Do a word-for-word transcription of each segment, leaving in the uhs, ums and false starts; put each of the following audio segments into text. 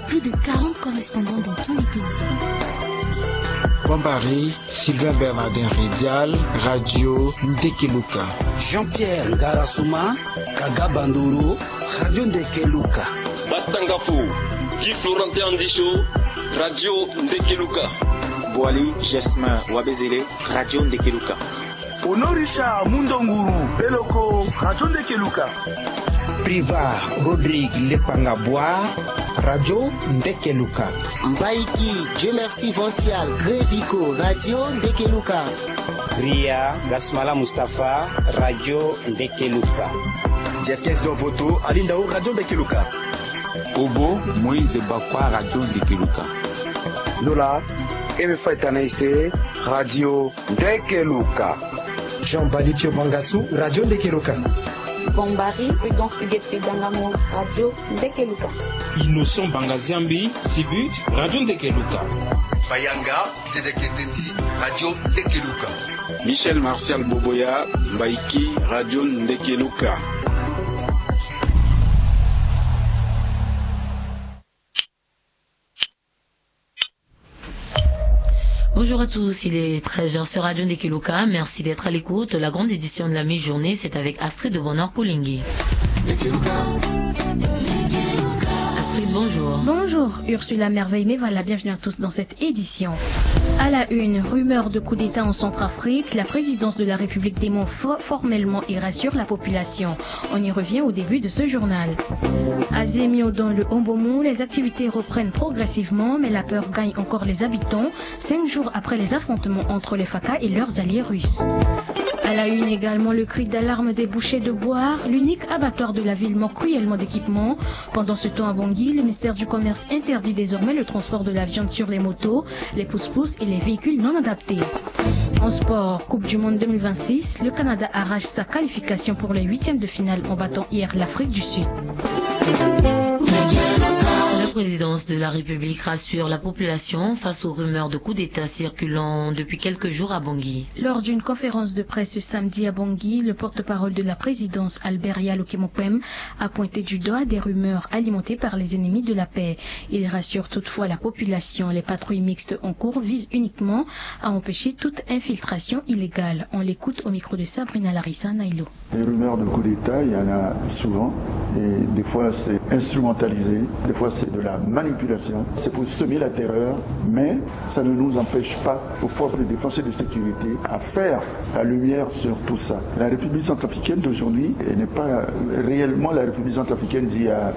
Plus de quarante correspondants dans tous les pays. Bombari, Sylvain Bernardin Redial, Radio Ndekeluka. Jean-Pierre Ngarasuma, Kaga Bandoro, Radio Ndekeluka. Batangafo, Guy Florentin Andisho, Radio Ndekeluka. Boali, Jasmin Wabezele, Radio Ndekeluka. Honorisha Mundonguru Beloko, Radio Ndekeluka. Priva Rodrigue Lepanga Boa, Radio Ndekeluka. Mbaiki Dieu Merci Vancial Grévico, Radio Ndekeluka. Ria Gasmala Mustapha, Radio Ndekeluka. Jeskes Dovoto Alindao, Radio Ndekeluka. Obo Moïse Bakwa, Radio Ndekeluka. Lola Eme Faitanaise, Radio Ndekeluka. Jean Bali Pio Bangasu, Radio Ndekeluka. Bombari Prudent Huguette Dangamo, Radio Ndekeluka. Innocent Bangaziambi Sibut, Radio Ndekeluka. Bayanga Didier Keteti, Radio Ndekeluka. Michel Martial Boboya, Mbaiki, Radio Ndekeluka. Bonjour à tous, il est treize heures sur Radio Ndekeluka. Merci d'être à l'écoute. La grande édition de la mi-journée, c'est avec Astrid de Bonheur Koulingi. Astrid, bonjour. Bonjour, Ursula Merveille Meva, la bienvenue à tous dans cette édition. À la une, rumeur de coup d'État en Centrafrique, la présidence de la République dément fo-, formellement et rassure la population. On y revient au début de ce journal. À Zemio, dans le Hombomou, les activités reprennent progressivement, mais la peur gagne encore les habitants, cinq jours après les affrontements entre les Faka et leurs alliés russes. À la une également, le cri d'alarme des bouchers de Boar, l'unique abattoir de la ville manque cruellement d'équipement. Pendant ce temps, à Bangui, le ministère du Commerce interdit désormais le transport de la viande sur les motos, les pousse-pousse et les véhicules non adaptés. En sport, Coupe du Monde deux mille vingt-six, le Canada arrache sa qualification pour les huitièmes de finale en battant hier l'Afrique du Sud. La présidence de la République rassure la population face aux rumeurs de coup d'État circulant depuis quelques jours à Bangui. Lors d'une conférence de presse ce samedi à Bangui, le porte-parole de la présidence, Albert Yalo Kemopem, a pointé du doigt des rumeurs alimentées par les ennemis de la paix. Il rassure toutefois la population. Les patrouilles mixtes en cours visent uniquement à empêcher toute infiltration illégale. On l'écoute au micro de Sabrina Larissa Nailo. Les rumeurs de coup d'État, il y en a souvent. Et des fois, c'est instrumentalisé. Des fois, c'est de la manipulation. C'est pour semer la terreur. Mais ça ne nous empêche pas, aux forces de défense et de sécurité, à faire la lumière sur tout ça. La République centrafricaine d'aujourd'hui, elle n'est pas réellement la République centrafricaine d'il y a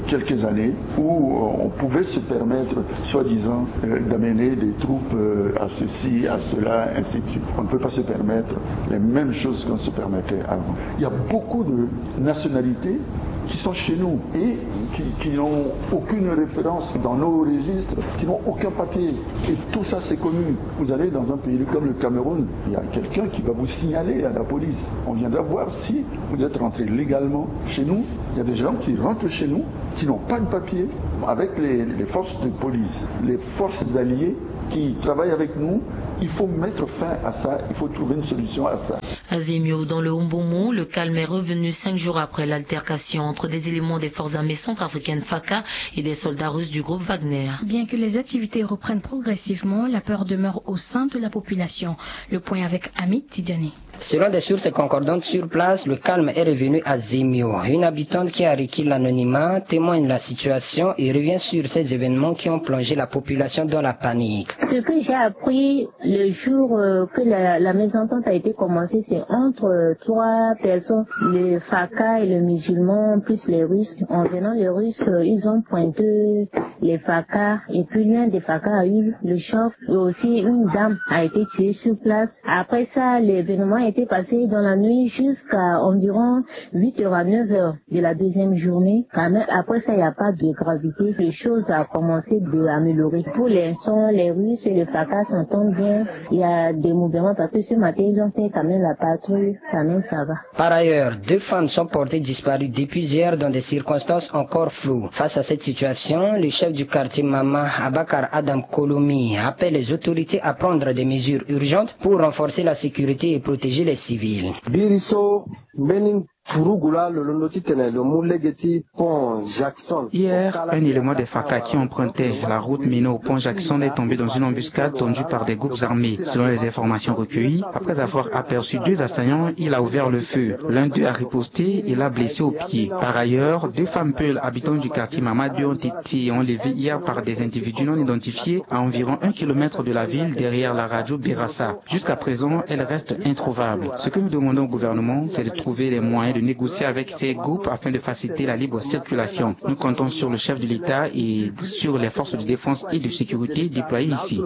quelques années, où on pouvait se permettre, soi-disant, euh, d'amener des troupes, euh, à ceci, à cela, ainsi de suite. On ne peut pas se permettre les mêmes choses qu'on se permettait avant. Il y a beaucoup de nationalités qui sont chez nous et qui, qui n'ont aucune référence dans nos registres, qui n'ont aucun papier. Et tout ça, c'est connu. Vous allez dans un pays comme le Cameroun, il y a quelqu'un qui va vous signaler à la police. On viendra voir si vous êtes rentré légalement chez nous. Il y a des gens qui rentrent chez nous, qui n'ont pas de papier. Avec les, les forces de police, les forces alliées qui travaillent avec nous, il faut mettre fin à ça, il faut trouver une solution à ça. À Zemio, dans le Hombomou, le calme est revenu cinq jours après l'altercation entre des éléments des forces armées centrafricaines Faka et des soldats russes du groupe Wagner. Bien que les activités reprennent progressivement, la peur demeure au sein de la population. Le point avec Amit Tidjani. Selon des sources concordantes sur place, le calme est revenu à Zemio. Une habitante qui a requis l'anonymat témoigne la situation et revient sur ces événements qui ont plongé la population dans la panique. Ce que j'ai appris le jour, euh, que la, la mésentente a été commencée, c'est entre, euh, trois personnes, les Faka et les musulmans, plus les Russes. En venant, les Russes, euh, ils ont pointé les Faka, et puis l'un des Faka a eu le choc, et aussi une dame a été tuée sur place. Après ça, l'événement a été passé dans la nuit jusqu'à environ huit heures à neuf heures de la deuxième journée. Quand même, après ça, il n'y a pas de gravité. Les choses ont commencé de améliorer. Pour l'instant, les Russes et les Faka s'entendent bien. Il y a des mouvements parce que ce matin, ils ont fait quand même la patrouille. Quand même, ça va. Par ailleurs, deux femmes sont portées disparues depuis hier dans des circonstances encore floues. Face à cette situation, le chef du quartier Mama, Abakar Adam Kolomi, appelle les autorités à prendre des mesures urgentes pour renforcer la sécurité et protéger les civils. Biri so mbeni Purugu laa lo londo titene lo mu lege ti pont Jackson. Hier, un élément des FACA qui empruntait la route menant au pont Jackson est tombé dans une embuscade tendue par des groupes armés. Selon les informations recueillies, après avoir aperçu deux assaillants, il a ouvert le feu. L'un d'eux a riposté et l'a blessé au pied. Par ailleurs, deux femmes peules habitant du quartier Mama deux ont été enlevées hier par des individus non identifiés à environ un kilomètre de la ville, derrière la radio Berassa. Jusqu'à présent, elles restent introuvables. Ce que nous demandons au gouvernement, c'est de trouver les moyens de négocier avec ces groupes afin de faciliter la libre circulation. Nous comptons sur le chef de l'État et sur les forces de défense et de sécurité déployées ici.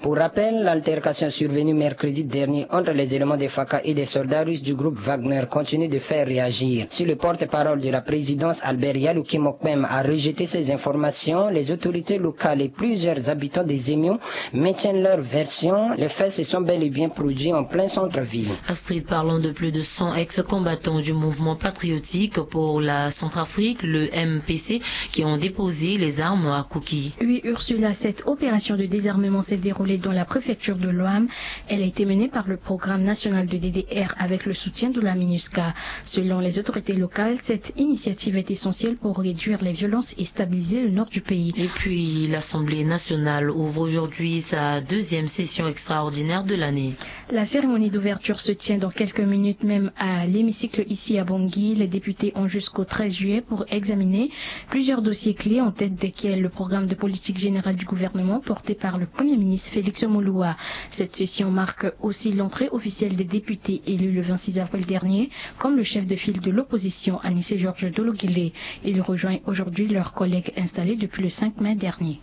Pour rappel, l'altercation survenue mercredi dernier entre les éléments des FACA et des soldats russes du groupe Wagner continue de faire réagir. Si le porte-parole de la présidence, Albert Yalouki Mokpem, a rejeté ces informations, les autorités locales et plusieurs habitants des Émions maintiennent leur version. Les faits se sont bel et bien produits en plein centre-ville. Astrid, parlons de plus de cent ex-combattants du mouvement patriotique pour la Centrafrique, le M P C, qui ont déposé les armes à Kuki. Oui, Ursula, cette opération de désarmement s'est déroulée dans la préfecture de l'Ouham. Elle a été menée par le programme national de D D R avec le soutien de la MINUSCA. Selon les autorités locales, cette initiative est essentielle pour réduire les violences et stabiliser le nord du pays. Et puis, l'Assemblée nationale ouvre aujourd'hui sa deuxième session extraordinaire de l'année. La cérémonie d'ouverture se tient dans quelques minutes même à l'hémicycle ici à Bangui. Les députés ont jusqu'au treize juillet pour examiner plusieurs dossiers clés, en tête desquels le programme de politique générale du gouvernement porté par le Premier ministre Félix Moloua. Cette session marque aussi l'entrée officielle des députés élus le vingt-six avril dernier, comme le chef de file de l'opposition, Anicet Georges Dologuélé. Ils rejoignent aujourd'hui leurs collègues installés depuis le cinq mai dernier.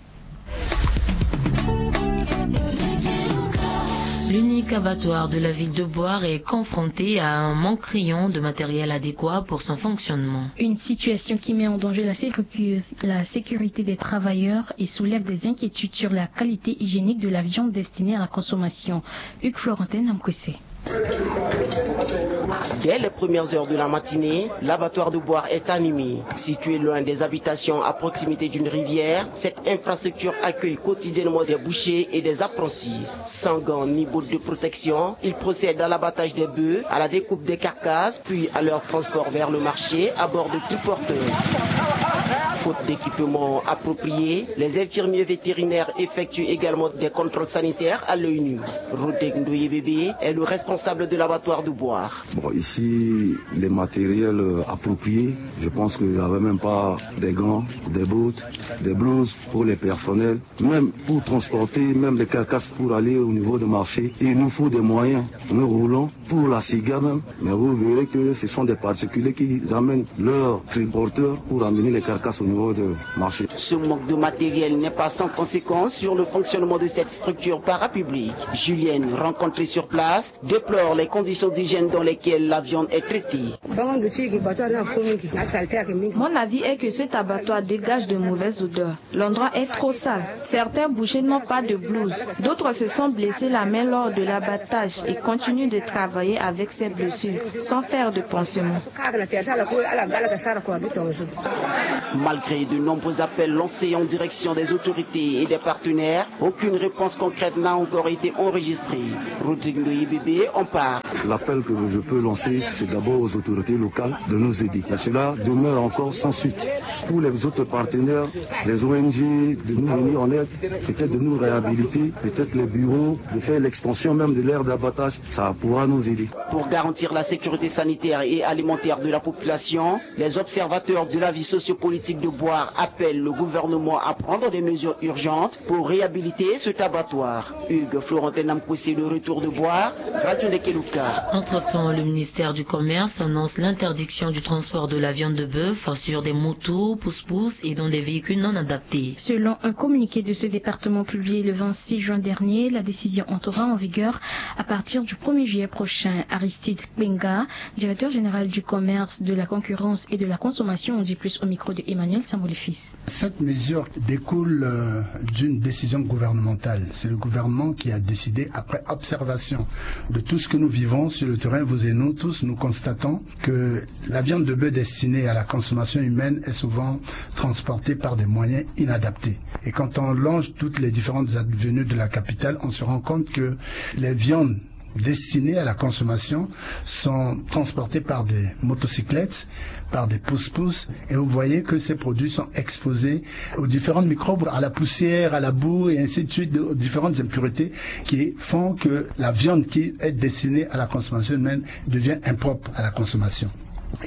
L'unique abattoir de la ville de Bouar est confronté à un manque criant de matériel adéquat pour son fonctionnement. Une situation qui met en danger la sécu-, la sécurité des travailleurs et soulève des inquiétudes sur la qualité hygiénique de la viande destinée à la consommation. Hugues Florentin Namkwese. Dès les premières heures de la matinée, l'abattoir de Bouar est animé. Situé loin des habitations, à proximité d'une rivière, cette infrastructure accueille quotidiennement des bouchers et des apprentis. Sans gants ni bottes de protection, ils procèdent à l'abattage des bœufs, à la découpe des carcasses, puis à leur transport vers le marché à bord de triporteurs. Faute d'équipement approprié, les infirmiers vétérinaires effectuent également des contrôles sanitaires à l'œil nu. Rodrigue Ndoye Bébé est le responsable de l'abattoir de Bouar. Bon, ici, les matériels, euh, appropriés, je pense qu'il n'y avait même pas des gants, des bottes, des blouses pour les personnels. Même pour transporter même des carcasses pour aller au niveau de marché, il nous faut des moyens. Nous roulons pour la ciga même, mais vous verrez que ce sont des particuliers qui amènent leurs triporteurs pour amener les carcasses au niveau de marché. Ce manque de matériel n'est pas sans conséquence sur le fonctionnement de cette structure parapublique. Julienne, rencontrée sur place, déplore les conditions d'hygiène dans lesquelles la viande est traitée. Mon avis est que cet abattoir dégage de mauvaises odeurs. L'endroit est trop sale. Certains bouchers n'ont pas de blouse. D'autres se sont blessés la main lors de l'abattage et continuent de travailler avec ces blessures, sans faire de pansement. Malgré de nombreux appels lancés en direction des autorités et des partenaires, aucune réponse concrète n'a encore été enregistrée. Rodrigue Ndoye Bébé en parle. L'appel que je peux lancer, c'est d'abord aux autorités locales de nous aider. Mais cela demeure encore sans suite. Pour les autres partenaires, les O N G, de nous venir en aide, peut-être de nous réhabiliter, peut-être les bureaux, de faire l'extension même de l'aire d'abattage, ça pourra nous aider. Pour garantir la sécurité sanitaire et alimentaire de la population, les observateurs de la vie sociopolitique de Bouar appellent le gouvernement à prendre des mesures urgentes pour réhabiliter cet abattoir. Hugues Florentin Namkwese, le retour de Bouar, Radio Ndekeluka. Entre-temps, le ministère du Commerce annonce l'interdiction du transport de la viande de bœuf sur des motos, pousse-pousse et dans des véhicules non adaptés. Selon un communiqué de ce département publié le vingt-six juin dernier, la décision entrera en vigueur à partir du premier juillet prochain. Aristide Kpenga, directeur général du commerce, de la concurrence et de la consommation, en dit plus au micro de Emmanuel Samboulefils. Cette mesure découle, euh, d'une décision gouvernementale. C'est le gouvernement qui a décidé, après observation de tout ce que nous vivons sur le terrain, vous et nous tous, nous constatons que la viande de bœuf destinée à la consommation humaine est souvent transportée par des moyens inadaptés. Et quand on longe toutes les différentes avenues de la capitale, on se rend compte que les viandes destinées à la consommation sont transportées par des motocyclettes, par des pousse-pousse, et vous voyez que ces produits sont exposés aux différents microbes, à la poussière, à la boue, et ainsi de suite, aux différentes impuretés qui font que la viande qui est destinée à la consommation humaine devient impropre à la consommation.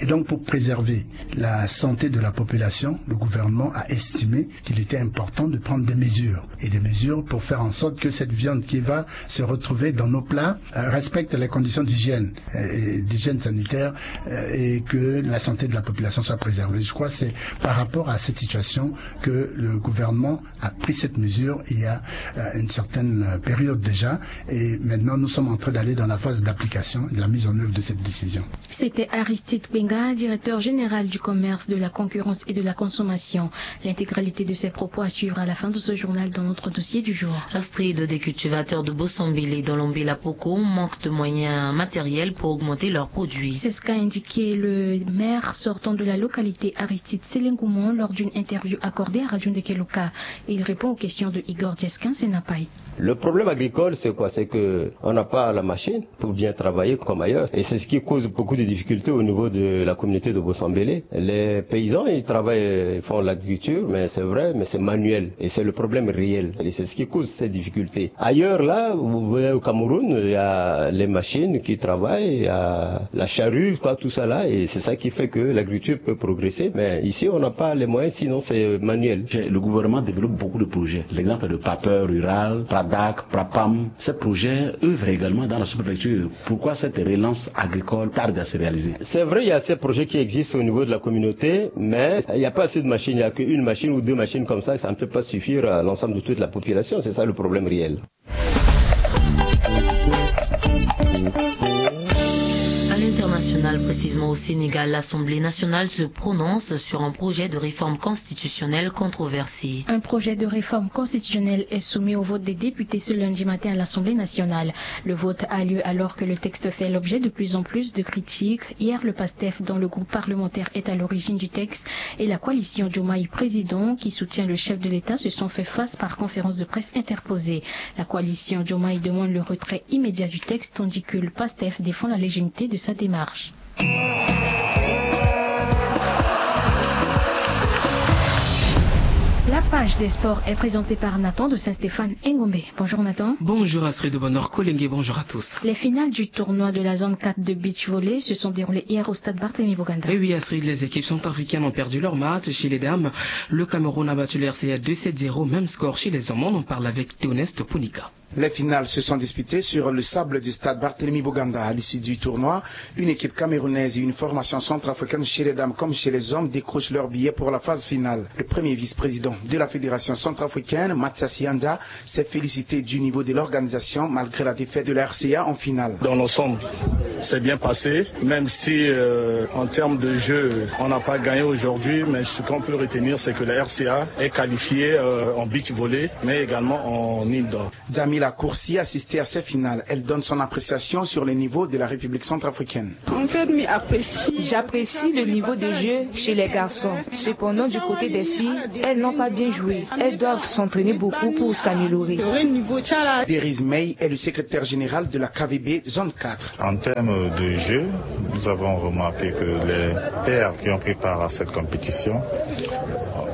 Et donc, pour préserver la santé de la population, le gouvernement a estimé qu'il était important de prendre des mesures, et des mesures pour faire en sorte que cette viande qui va se retrouver dans nos plats, euh, respecte les conditions d'hygiène, euh, et d'hygiène sanitaire, euh, et que la santé de la population soit préservée. Je crois que c'est par rapport à cette situation que le gouvernement a pris cette mesure il y a, euh, une certaine, euh, période déjà, et maintenant nous sommes en train d'aller dans la phase d'application, de la mise en œuvre de cette décision. C'était Aristide Kpenga, directeur général du commerce, de la concurrence et de la consommation. L'intégralité de ses propos à suivre à la fin de ce journal dans notre dossier du jour. Astrid, des cultivateurs de Bossambélé dans l'Ambela-Poko manquent de moyens matériels pour augmenter leurs produits. C'est ce qu'a indiqué le maire sortant de la localité, Aristide Selengoumon, lors d'une interview accordée à Radio Ndekeloka. Il répond aux questions de Igor Djeskin Senapaï. Le problème agricole, c'est quoi ? C'est que on n'a pas la machine pour bien travailler comme ailleurs. Et c'est ce qui cause beaucoup de difficultés au niveau de la communauté de Bossambélé. Les paysans, ils travaillent, ils font l'agriculture, mais c'est vrai, mais c'est manuel. Et c'est le problème réel. Et c'est ce qui cause ces difficultés. Ailleurs, là, vous voyez, au Cameroun, il y a les machines qui travaillent, il y a la charrue, quoi, tout ça là. Et c'est ça qui fait que l'agriculture peut progresser. Mais ici, on n'a pas les moyens, sinon c'est manuel. Le gouvernement développe beaucoup de projets. L'exemple de Papeur Rural, Pradak, Prapam. Ces projets œuvrent également dans la sous-préfecture. Pourquoi cette relance agricole tarde à se réaliser ? C'est vrai, il y a ces projets qui existent au niveau de la communauté, mais il n'y a pas assez de machines. Il n'y a qu'une machine ou deux machines comme ça, ça ne peut pas suffire à l'ensemble de toute la population. C'est ça le problème réel. À l'international, précisément au Sénégal, l'Assemblée nationale se prononce sur un projet de réforme constitutionnelle controversé. Un projet de réforme constitutionnelle est soumis au vote des députés ce lundi matin à l'Assemblée nationale. Le vote a lieu alors que le texte fait l'objet de plus en plus de critiques. Hier, le PASTEF, dont le groupe parlementaire est à l'origine du texte, et la coalition Diomaye Président, qui soutient le chef de l'État, se sont fait face par conférence de presse interposée. La coalition Diomaye demande le retrait immédiat du texte, tandis que le PASTEF défend la légitimité de sa démarche. La page des sports est présentée par Nathan de Saint-Stéphane Engombe. Bonjour Nathan. Bonjour Astrid, bonheur Kolenge, bonjour à tous. Les finales du tournoi de la zone quatre de beach volley se sont déroulées hier au stade Barthélemy Boganda. Et oui Astrid, les équipes centrafricaines ont perdu leur match. Chez les dames, le Cameroun a battu le R C A deux sept zéro, même score chez les hommes. On en parle avec Théoneste Ponika. Les finales se sont disputées sur le sable du stade Barthélemy Boganda. À l'issue du tournoi, une équipe camerounaise et une formation centrafricaine, chez les dames comme chez les hommes, décrochent leur billet pour la phase finale. Le premier vice-président de la Fédération centrafricaine, Mathias Yanda, s'est félicité du niveau de l'organisation malgré la défaite de la R C A en finale. Dans l'ensemble, c'est bien passé, même si, euh, en termes de jeu, on n'a pas gagné aujourd'hui, mais ce qu'on peut retenir, c'est que la R C A est qualifiée, euh, en beach volley, mais également en indoor. Djamila Koursi assistait à ces finales. Elle donne son appréciation sur le niveau de la République centrafricaine. J'apprécie le niveau de jeu chez les garçons. Cependant, du côté des filles, elles n'ont pas bien joué. Elles doivent s'entraîner beaucoup pour s'améliorer. Deriz May est le secrétaire général de la K V B Zone quatre. En termes de jeu, nous avons remarqué que les paires qui ont pris part à cette compétition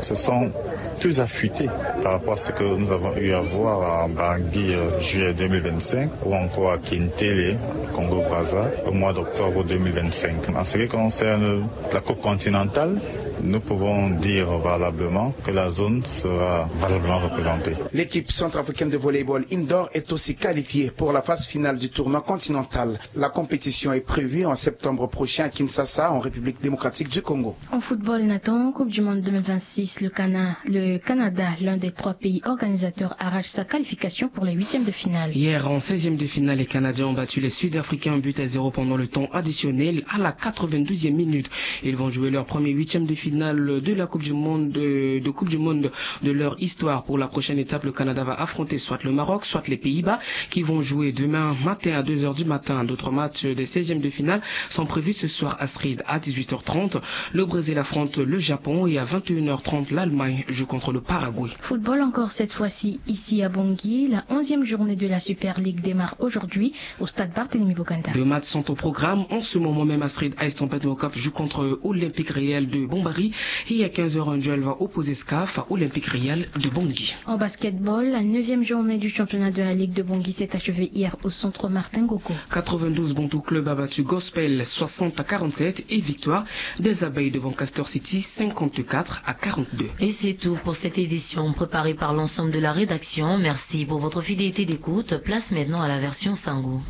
se sont plus affûtés par rapport à ce que nous avons eu à voir à Bangui, euh, juillet deux mille vingt-cinq, ou encore à Kintele, Congo-Brazza, au mois d'octobre deux mille vingt-cinq. En ce qui concerne la Coupe continentale, nous pouvons dire valablement que la zone sera valablement représentée. L'équipe centrafricaine de volleyball indoor est aussi qualifiée pour la phase finale du tournoi continental. La compétition est prévue en septembre prochain à Kinshasa, en République démocratique du Congo. En football, Nathan, Coupe du Monde deux mille vingt-six, le Cana-, le Canada, l'un des trois pays organisateurs, arrache sa qualification pour les huitièmes de finale. Hier, en seizième de finale, les Canadiens ont battu les Sud-Africains un but à zéro pendant le temps additionnel à la quatre-vingt-douzième minute. Ils vont jouer leur premier huitième de finale Finale de la Coupe du Monde, de, de Coupe du Monde de leur histoire. Pour la prochaine étape, le Canada va affronter soit le Maroc, soit les Pays-Bas, qui vont jouer demain matin à deux heures du matin. D'autres matchs des seizièmes de finale sont prévus ce soir, Astrid, à dix-huit heures trente. Le Brésil affronte le Japon et à vingt et une heures trente, l'Allemagne joue contre le Paraguay. Football encore cette fois-ci ici à Bangui. La onzième journée de la Super League démarre aujourd'hui au stade Barthélemy Boganda. Deux matchs sont au programme. En ce moment même, Astrid, Ice Trompette Mokaf joue contre Olympique Réel de Bombari. Et à quinze heures, un duel va opposer SCAF à Olympique Réel de Bangui. En basketball, la neuvième journée du championnat de la Ligue de Bangui s'est achevée hier au centre Martin Gogo. Quatre-vingt-douze Bontou Club a battu Gospel soixante à quarante-sept et victoire des Abeilles devant Castor City cinquante-quatre à quarante-deux. Et c'est tout pour cette édition préparée par l'ensemble de la rédaction. Merci pour votre fidélité d'écoute. Place maintenant à la version Sango.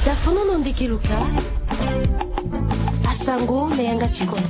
Tafono no ndeke luka. Asango na yanga ti kodro.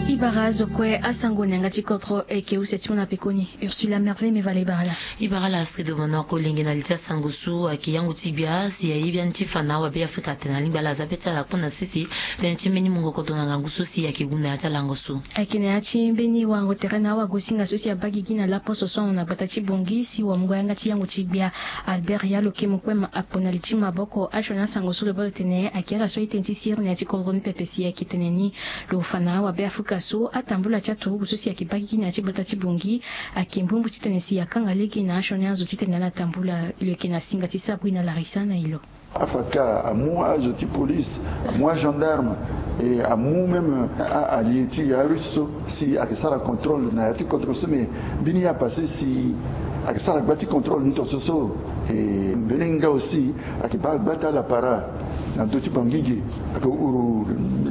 I bara zo kue asango na yanga ti kodro eke use ti mo na pekoni. Ursula Merveille Mevala i bara la. I bara la Astrid Omanor. Kolenge na li ti asango so ayeke yango ti gbia si ayebi ani ti fa na awabe Afrika atene alingbi ala aza be ti ala kpo na sese. Tënë ti mbeni mungo kodro na ngangu so si ayeke gu na ya ti alango so. Ayeke na ya ti mbeni warango tere na awagosinga so si abaa gigi na laposo so ahon na gbata ti Bangui si wamungo yanga ti yango ti gbia Albert Yalo Kemukpem akpo na li ti maboko asioni asango so lo baa lo tene ayeke ala so aye tënë ti siriri na ya ti kodro ni pepe si ayeke tene ni lo fa na awabe Afrika so atambula ti aturugu so si ayeke baa gigi na ya ti gbata ti Bangui ayeke mbumbu titene si akanga lege na asioni azo titene ala tambula. Lo yeke na singa ti Sabrina Larissa na e lo. Afaka amu azo ti police, amu agendarme, e amu même a- allié ti e arusse so si ayeke sara contrôle na ya ti kodro so, mais mbeni ye apasse si ayeke sara gba ti contrôle ni tonso so. E mbeni nga aussi ayeke baa gba ti ala para na ndö ti Bangui ge, ayeke huru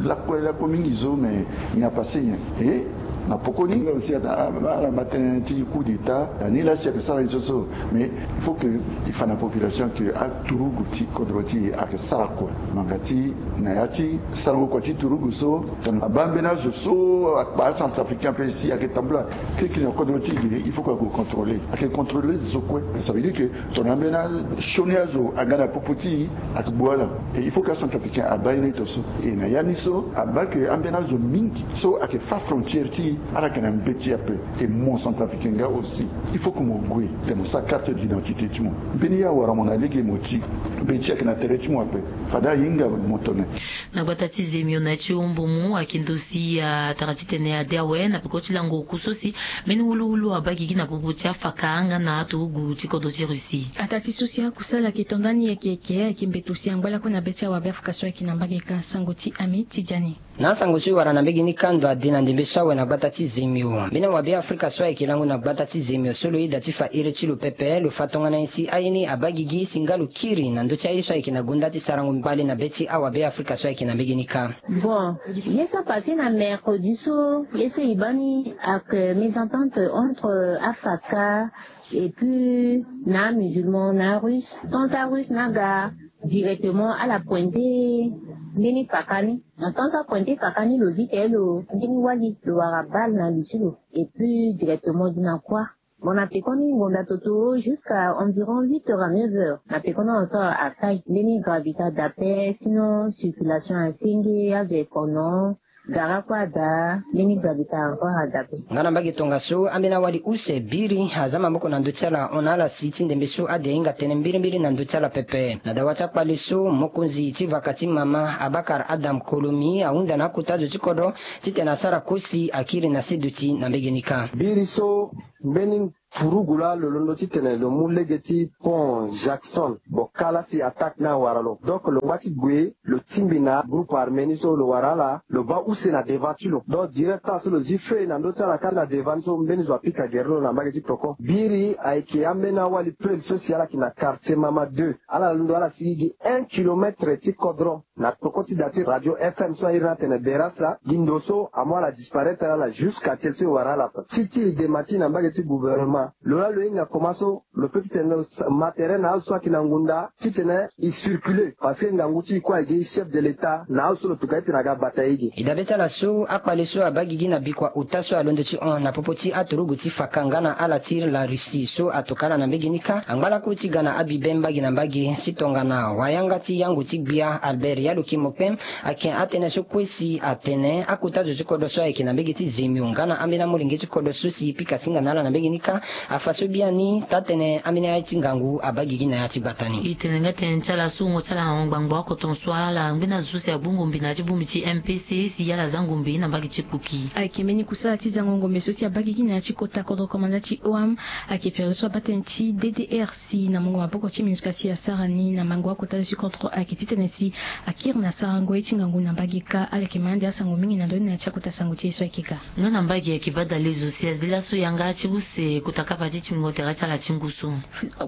lakue lakue mingi so, mais ni apasse nyen. E na poko ni nga aussi ata ala ma tënë ti coup d'état, ani laa si ayeke sara ni so so. Mais il faut que e fa na population que aturugu ti kodro ti e ayeke sara kua. Ngbanga ti na ya ti sarango kua ti turugu so, tongana abaa mbeni azo so akpa acentrafricain ape si ayeke tambula kirikiri na kodro ti e ge, il faut que ague contrôler. Ayeke contrôler zo kue. Ça veut dire que tongana ambeni asioni azo aga na popo ti e, ayeke gbu ala. Et il faut que acentrafricain abaa ye ni tonso. Et na ya ni so abaa que ambeni azo mingi so ayeke fâ frontière ti e, ala yeke na mbeti ape. Et mo centrafricain nga aussi, il faut que mo gue, tene mo sara carte d'identité ti mo. Mbeni ye awara mo na lege mo ti, mbeti ayeke na tere ti mo ape. Fade ahinga mo tene. Na gbata ti Zemio na ya ti Umbumu ayeke ndo si atara titene ade awe na peko ti lango oku so si mbeni wuluwulu abaa gigi na popo ti afaka nga na aturugu ti kodro ti Russie. Ataa ti so si akusala ayeke to ndani yeke yeke ayeke mbeto si angba lakue na be ti awabe Afrika so ayeke na mbage ka sango ti Ami Tidjani. Na asango so e wara na mbage ni ka ndo ade na ndembe so awe na gbata ti Zemio. Mbeni awabe Afrika so ayeke lango na gbata ti Zemio so lo yeda ti fa iri ti lo pepe lo fa tongana nyen si aye ni abaa gigi si nga lo kiri na ndö ti aye so ayeke na gonda ti sarango mbale na be ti awabe Afrika so ayeke na mbage ni ka. Bon, ye so apasse na mercredi so, ye so e baa ni ayeke mésentente entre afaka et puis na amusulman na arusse. Tant arusse ni aga directement ala pointe mbeni faka ni. Na tant apointe faka ni lo zi tene lo mbeni wali lo wara balle na li ti lo et puis directement gi na kuâ. Bon, na pekoni ngonda toto jusqu'à environ huit heures à neuf heures na pekoni ahon so akai mbeni gravité ada ape, sinon circulation asenge, azo e kono, gara kue ada, mbeni gravité encore ada ape. Nga na mbage tongaso ambeni awali use biri aza maboko na ndö ti ala hon na ala si ti ndembe so ade ahinga tënë mbirimbiri na ndö ti ala pepe. Na dawa ti akpale so mokonzi ti vaka ti mama Abakar Adam Kolomi ahunda na akota zo ti kodro titene asara kosi akiri na seduti na mbege ni kâ. Biri so mbeni turugu laa lo londo titene lo mu lege ti pont Jackson. Bon, kâ laa si attaque ni awara lo, donc lo ngba ti gue lo tingbi na groupe armé ni so lo wara ala, lo baa use na devant ti lo. Donc direct so lo zi feu na ndö ti ala kâ na devant ni so mbeni zo apika gere lo na mbage ti peko. Biri ayeke ambeni awali peuple so si ala yeke na quartier Mama deux. Ala londo ala sigi gi un kilomètre ti kodro. Na peko ti da ti radio F M so airi ni atene Berasa, gi ndo so amu ala disparaître ala jusqu'à tel so e wara ala ape. Ti ti e dema ti e na mbage ti gouvernement, lo laa lo hinga koma so lo peut titene lo ma tere na azo so ayeke na ngunda titene e circuler, parce que ngangu ti e kue ayeke gi chef de l'État na azo so lo tuka ye titene aga bata ye ge. E dabe ti ala so akpale so abaa gigi na bikua ota so alondo ti hon na popo ti aturugu ti faka nga na ala ti la Russie so atoka ala na mbege ni kâ angba lakue ti ga na abibe mbage na mbage ti tongana wayanga ti yango ti gbia Albert Aloki mokpem. Ayeke atene so kue si atene akota zo ti kodro so ayeke na mbege ti zemio nga na ambeni amolenge ti kodro so si e pika singa na ala na mbege ni kâ. Afa so biani tatene ambeni aye ti ngangu abaa gigi na ya ti gbata ni. E tene nga tene ti ala so wungo ti ala na wungo gbangbo oko ton so ala ngbeni azo so si agbu ngombe na ya ti bongbi ti mpc si ala za ngombe na mbage ti kpuki. Ayeke mbeni kusala ti zango ngombe so si abaa gigi na ya ti kota kodro komanda ti oam. Ayeke pere so abaa tënë ti ddrc na mungo maboko ti minusca si asara ni na mango akota zo ti kodro ayeke titene si akiri na sarango ye ti ngangu na mbage kâ. Ala yeke ma ande asango mingi na ndoni na ya ti akota sango ti e so ayeke ga. Nga na mbage ayeke baa dalezo si azi laso yanga ti use kota kapa ti tingbingo tere ti ala ti ngu so.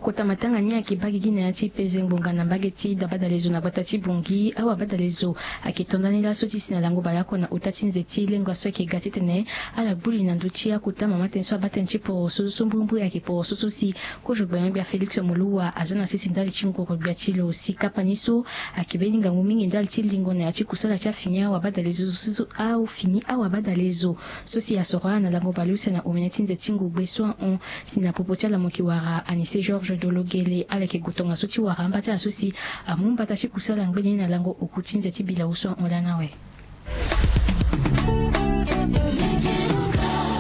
Kota matanga ni ayeke baa gigi na ya ti peze ngbonga na mbage ti dabadalezo na gbata ti bongi awabadalezo. Ayeke to ndani laso ti si na lango baleoko na ota ti nze ti lengua so ayeke ga titene ala gbu li na ndö ti akota mama tënë so abaa tënë ti poroso so mbrimbri ayeke poroso so si kozo gbia na gbia félix moluwa aza na sese ndali ti ngoro gbia ti lo si kapa ni so. Ayeke mbeni ngangu mingi ndali ti lingo na ya ti kusala ti afini awabadalezo so afini awabadalezo so si asoro ala na lango baleuse na omene ti nze ti ngogbe so ahon. Si na popo ti ala mo yeke wara anise georges dologele ala yeke gue tongaso ti wara amba ti ala so si amu mbata ti kusala ngbene ni na lango oku ti nze ti bilau so ahon lani awe.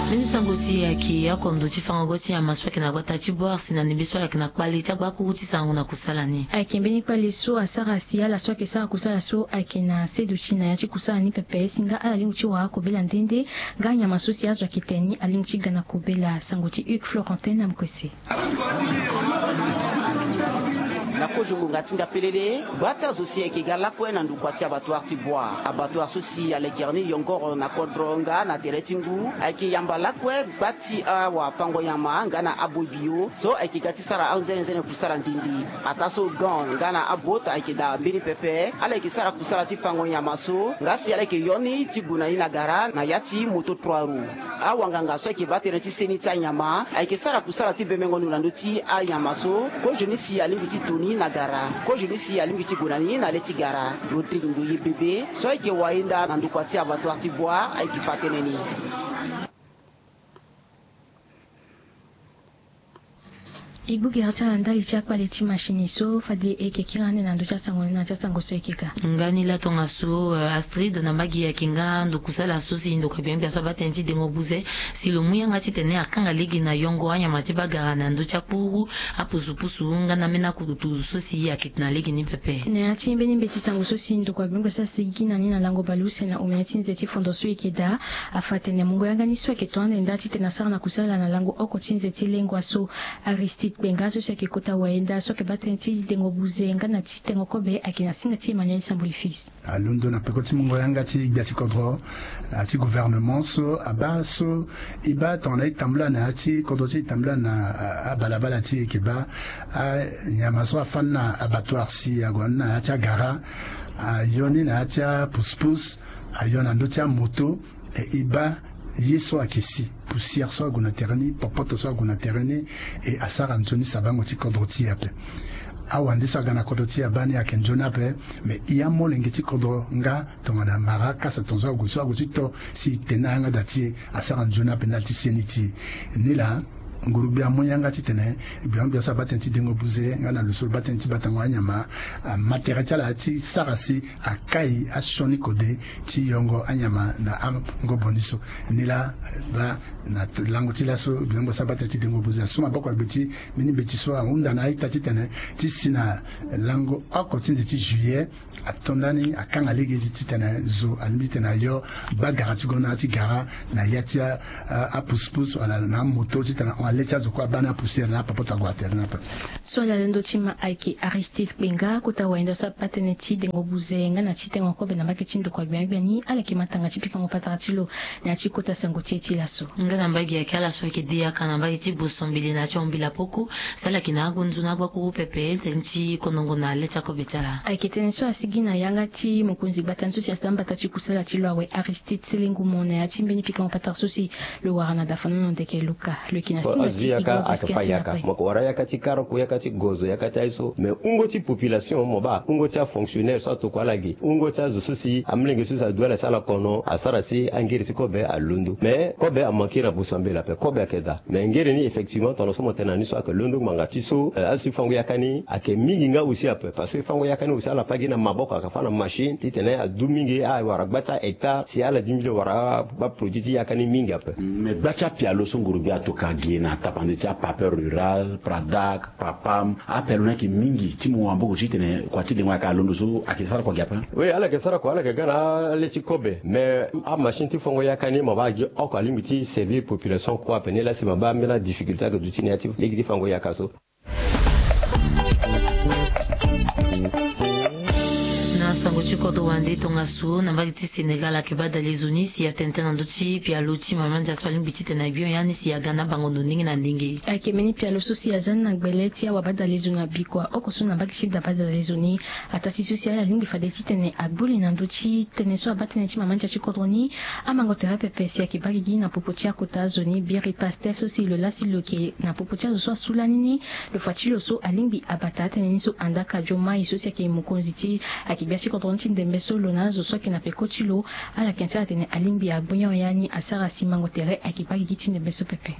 Mbeni sango ti e ayeke akondo ti fango ti nyama so ayeke na gbata ti boire si na ndembe so ala yeke na kpale ti agbakuru ti sango na kusala ni. Ayeke mbeni kpale so asara si ala so ayeke sara kusala so ayeke na seduti na ya ti kusala ni pepe si nga ala lingbi ti wara kobela nde nde. Nga nyama so si azo ayeke tene ni alingbi ti ga na kobela sango ti hugues florentin na mokuse. Na kozo ngonga ti nda pelele, gba ti azo si ayeke ga lakue na ndokua ti abattoir ti bois abattoir so si alekere ni yongoro na kodro nga na tere ti ngu ayeke yamba lakue gba ti awafango nyama nga na aboi bio so ayeke ga ti sara anzenenzene kusala ndindi. Ataa so gan nga na abot ayeke daa mbeni pepe ala yeke sara kusala ti fango nyama so nga si ala yeke yo ni ti gue na ni na gara na ya ti moto trois roues. Awanganga so ayeke baa tënë ti seni ti anyama ayeke sara kusala ti bemengo ndo na ndö ti anyama so. Kozo ni si alingbi ti to ni na gara kozo ni si alingbi ti gue na ni na le ti gara. Rodrigue ndoye bebe so ayeke wayenda na ndokua ti abattoir ti bois ayeke fa tënë ni. E gbu gere ti ala ndali ti akpale ti machine so fade e yeke kiri ande na ndö ti asango ni na ya ti asango so e yeke ga. Nga ni laa tongaso astrid na mbage ayeke nga ndo kusala so si ndokua gbengbia so abaa tënë ti dengo buze si lo mu yanga titene akanga lege na yongo anyama ti bagara na ndö ti akpuru apusupusu nga na ambeni akudutu so si ayeke na lege ni pepe. Na ya ti mbeni mbeti sango so si ndokua gbengbia so asigi na ni na lango baleuse na omene ti nze ti fondo so e yeke daa afa tene mungo yanga ni so ayeke to ande nda titene asara na kusala na lango oko ti nze ti lengua so. Aristide kpenga so si ayeke kota wayenda so ayeke baa tënë ti dengo buze nga na ti tengo kobe ayeke na singa ti emmanuel sambuli fils. Alondo na peko ti mungo yanga ti gbia ti kodro na ya ti gouvernement so abaa so e baa tongana e tambula na ya ti kodro ti e tambula na abalabala ti e yeke baa anyama so afani na abattoir si ague na ni na ya ti agara ayo ni na ya ti apuspus ayo na ndö ti amoto. E e baa ye so ayeke si poussière so ague na tere ni popoto so ague na tere ni. E asara nzoni sabango ti kodro ti e ape. Awande so aga na kodro ti e abaa ni ayeke nzoni ape. Me e amolenge ti kodro nga tongana mara kasa tongaso ague so ague ti to si e tene na yanga daa ti e asara nzoni ape ndali ti seni ti e. Nilaa nguru-gbia amu yanga titene gbia-gbia so abaa tënë ti dengo buze nga na lo so lo baa tënë ti batango anyama ama tere ti ala ti sara si akai asioni kode ti yongo anyama na angobo ni so. Nilaa baa na lango ti laso gbia-gbia so abaa tënë ti dengo buze asu maboko agbe ti mbeni mbeti so ahunda na a-ita titene ti si na lango oko ti nze ti juillet ato ndani akanga lege ti titene zo alingbi titene ayo bagara ti gue na ya ti gara na ya ti apuspus wala na amoto titene ahon ale ti azo kue abaa ni apoussière na apopoto ague na tere ni ape. So ala londo ti ma ayeke aristide kpenga kota wayenda so abaa tënë ti dengo buze nga na ti tengo kobe na mbage ti ndokua gbiangbia ni ala yeke ma tanga ti pikango patara ti lo na ya ti kota sango ti e ti laso. Nga na mbage ayeke ala so ayeke de yaka na mbage ti boso mbili na ya ti ahon mbila poko. Si ala yeke na agonzo na agbakuru pepe tënë ti konongo na le ti akobe ti ala. Ayeke tënë so asigi na yanga ti mokonzi gbata ni so si asara mbata ti kusala ti lo awe aristide selengumo na ya ti mbeni pikango patara so si lo wara na dafanono ndeke luka lo yeke na si. Azo yaka ake fa yaka mo ko wara yaka ti karoko, yaka ti gozo, yaka ti aye so. Mais hungo ti population mo baa hungo ti afonctionnaire so atokua ala ge, hungo ti azo so si amolenge so si adu ala si ala kono asara si angere ti kobe alondo. Mais kobe amanke na bosambela ape, kobe ayeke daa. Mais ngere ni effectivement tongana so mo tene na ni so ayeke londo ngbanga ti so azo ti fango yaka ni ayeke mingi nga aussi ape. Parce que fango yaka ni aussi ala fa gi na maboko ayeke fa na machine titene adu mingi awara gba ti ahectare si ala dimbile wara aproduit ti yaka ni mingi ape. Mais gba ti apialo so ngurugbia atoka ge na tapande ti apape rural, pradak, papam, apialo ni ayeke mingi ti mu wamboko titene kua ti dengo ayeke alondo so ayeke sara kua ge ape? Oui, ala yeke sara kua, ala yeke ga na ale ti kobe. Mais amachine ti fango yaka ni mo baa gi oko alingbi ti servir population kue ape ni laa si mo baa ambeni adifficulté ayeke duti na ya ti lege ti fango yaka so. Na sango ti kodro wande tongaso na mbage ti Sénégal ayeke badale zo ni si atene tënë na ndö ti pialo ti mama ndia so alingbi titene agbio ya ni si aga na bango ndo ndenge na ndenge. Ayeke mbeni pialo so si aza ni na gbele ti awabadale zo na bikua oko so na mbage ti da badale zo ni. Ataa ti so si ala lingbi fade titene agbu li na ndö ti tënë so abaa tënë ti mama ndia ti kodro ni. Amango tere pepe si ayeke baa gigi na popo ti akota azo ni biri Pastef so si lo laa si lo yeke na popo ti azo so asu lani ni. Lo fa ti lo so alingbi abata atënë ni so andaa ka jo mai so si ayeke mokonzi ti ayeke gbia ti kodro ni ti ndembe so lo na azo so ayeke na peko ti lo. Ala yeke na ti ala atene alingbi agbu nyon ya ni asara si mango tere ayeke baa gigi ti ndembe so pepe.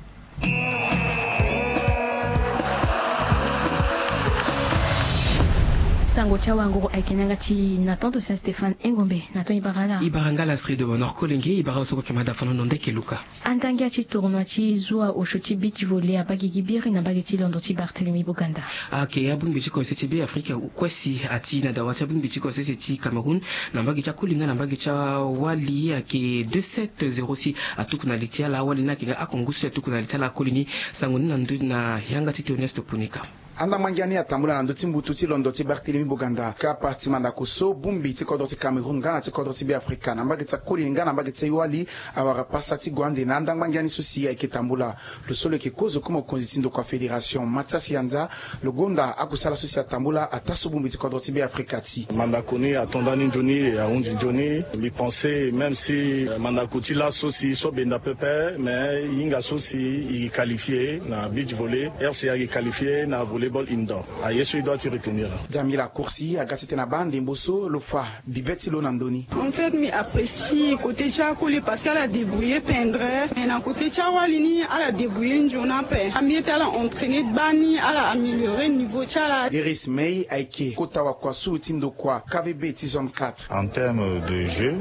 Sango ti awanguru ayeke na yanga ti Nathan to Saint Stéphane Engombe. Nathan, e bara ala. E bara nga ala Astrid de Bonheur Kolenge, e bara ala so kue yeke ma da fano na ndeke luka. Andangia ti tournoi ti zua osio ti beach volley abaa gigi biri na mbage ti londo ti Barthélemy Boganda. Ayeke abongbi ti Conseil ti Beafrika kue si ati na dawa ti abongbi ti Conseil ti Cameroun na mbage ti akoli nga na mbage ti awali ayeke deux sept zéro si atuku na li ti ala awali ni ayeke nga akongu so si atuku na li ti ala akoli ni. Sango ni na ndö na yanga ti Théoneste Punika. Andangba ngia ni atambula na ndö ti mbutu ti londo ti Barthélemy Boganda, kapa ti mandako so bongbi ti kodro ti Cameroun nga na ti kodro ti Beafrika na mbage ti akoli nga na mbage ti awali awara pasa ti gue ande na andangba ngia ni so si ayeke tambula. Lo so lo yeke kozo kue mokonzi ti ndokua fédération Mathias Yanza, lo gonda akusala so si atambula ataa so bongbi ti kodro ti Beafrika ti. Mandako ni ato ndani nzoni, ahunzi nzoni. Mbi pense même si, eh, mandako ti laso si so benda pepe, mais e hinga so si e qualifie na beach volley, R C A e qualifie na volleyball indoor. Aye so e doit ti retenir. Djamila Kursi aga titene abaa ndembo so lo fa bibe ti lo na ndö ni. En fait, mbi apprécie côté ti akoli parce que ala débrouiller pendre, mais na côté ti awali ni ala débrouiller nzoni ape. Ambi ete ala entraîner gbani, ala améliorer niveau ti ala. Iris May ayeke kota wakua sulu ti ndokua K V B ti zone quatre. En termes de jeu,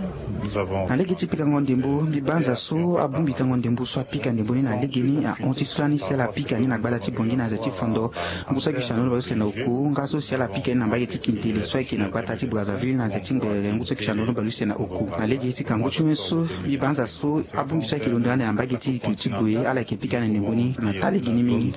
nous avons. Na lege ti pikango ndembo, mbi banza so abongbi tango ndembo so apika ndembo ni na lege ni ahon ti so lani si ala pika ni na gbata ti Bangui na nze ti Fando. Ngu so ayeke siandono bale use na oku nga so si ala pika ni na mbage ti Kintele so ayeke na gbata ti Brazzaville na nze ti Ngbere, ngu so ayeke siandono bale use na oku. Na lege ti kangu ti wen so mbi banza so abongbi so ayeke londo ande na mbage ti Kiri ti Boye ala yeke pika na ndembo ni na taa lege ni mingi.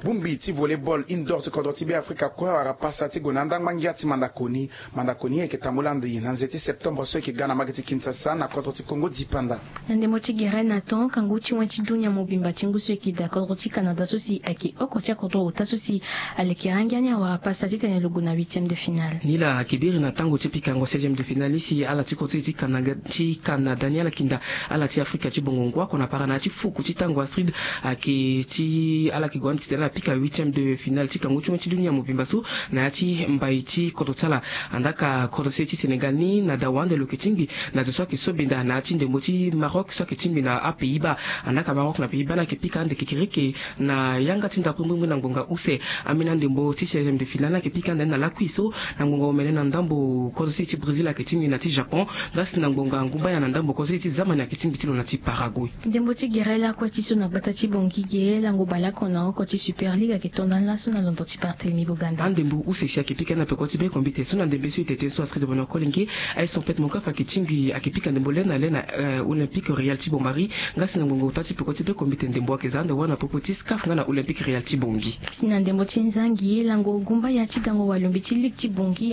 Bongbi ti volleyball indoor ti kodro ti Beafrika kue awara pasa ti gue na andangba ngia ti mandako ni. Mandako ni ayeke tambula ande na nze ti septembre so ayeke ga na mbage ti Kinshasa na kodro ti Congo dipanda. Na ndembo ti gere na ton kangu ti wen ti dunia mobimba ti ngu so ayeke daa kodro ti Canada so si ayeke oko ti akodro ota so si alekere angia ni awara pasa titene lo gue na huitième de finale. Ni laa ayeke biri na tango ti pikango seizième de finale ni si ala ti kodro ti Canada, ti Canada ni ala yeke nda ala ti Afrika ti bongo ngu oko na para na ya ti fuku ti tango Astrid ayeke ti ala yeke gue ande titene ala pika huitième de finale ti kangu ti wen ti dunia mobimba so na ya ti mbai ti kodro ti ala. Andaa ka kodro se ti Sénégal ni na dawa ande lo yeke tingbi na zo so ayeke so benda na ya ti ndembo ti Maroc so ayeke tingbi na aPays-Bas. Andaa ka Maroc na Pays-Bas ni ayeke pika ande kekereke na yanga ti ndapre mbirimbiri na ngbonga use. Ambeni andembo ti seizième de finale ni ayeke pika ande na lakui so na ngbonga omene na ndambo kodro se ti Brésil ayeke tingbi na ti Japon. Nga si na ngbonga ngumba ya na ndambo kodro se ti Zamani ayeke tingbi ti lo na ti Paraguay. Ndembo ti gere lakue ti so na gbata ti Bangui ge lango bale oko na oko ti Super League ayeke to ndani laso na londo ti Barthélemy Boganda. Andembo use si ayeke pika na peko ti be kombite so na ndembe so e tete so Astrid de Bonheur Kolenge. Aye Sampet Monkafa ayeke tingbi ayeke pika ndembo le na le na, eh, Olympique Real ti Bombari. Nga si na ngbonga ota ti peko ti be kombite ndembo ayeke za ande wâ na popo ti SCAF nga na Olympique Real ti Bangui. Si na ndembo ti nzangi lango gumba ya ti gango walombi ti ligue ti Bangui